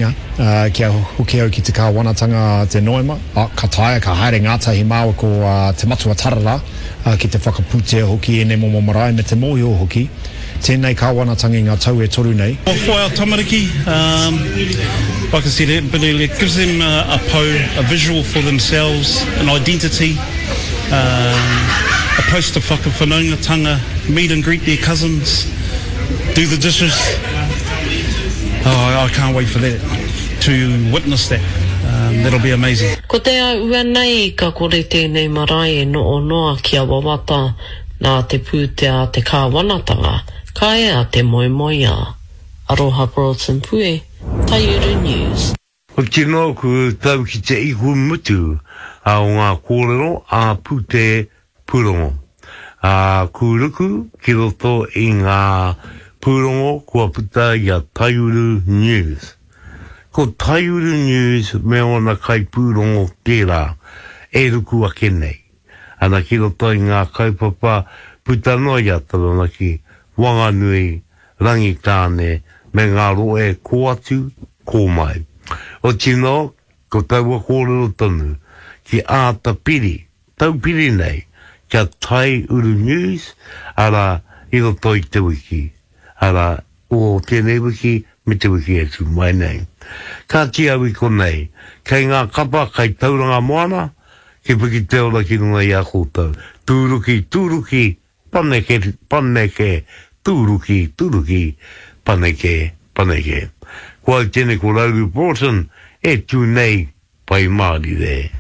Kia hoki au ki te kāwanatanga te Noema, ka taea, ka haere ngātahi māua ko Te Matua Tarara ki te whakapūtea hoki i ēnei momo marae me te mōhio hoki, tēnei kāwanatanga i ngā tau e toru nei. For our tamariki, like I said a bit earlier, it gives them a pou, a visual for themselves, an identity, a place to whakawhanaungatanga, meet and greet their cousins, do the dishes. Oh, I can't wait for that, to witness that. Um, that'll be amazing. Ko te āhua nei ka kore tēnei marae e noho noa kia wawata nā te pūtea a te kāwanatanga, ka ea te moemoeā. Aroha Broughton Pue, Taiuru News. Oti noa ku tau ki te ihu mutu o ngā kōrero a Pūte Pūrongo, ā, ku ruku ki roto i ngā pūrongo kua puta i a Taiuru News. Ko Taiuru News me ōna kaipūrongo tērā e ruku ake nei ana ki roto i ngā kaupapa puta noa i a Taranaki, Wanganui, Rangitāne me ngā rohe kō atu, kō mai. Otinō, ko taua kōrero tonu, ki āta piri, taupiri nei, kia tae uru news, arā, i roto i te wiki, arā, o tēnei wiki me te wiki e tū mai nei. Kāti au i konei, kei ngā kapa kai Tauranga Moana, ki piki te ora ki runga i a koutou. Tūruki, tūruki, Paneke, paneke, tūruki, tūruki, paneke, paneke. Ko au tēnei ko Rauru Broughton e tū nei Pai Mārire.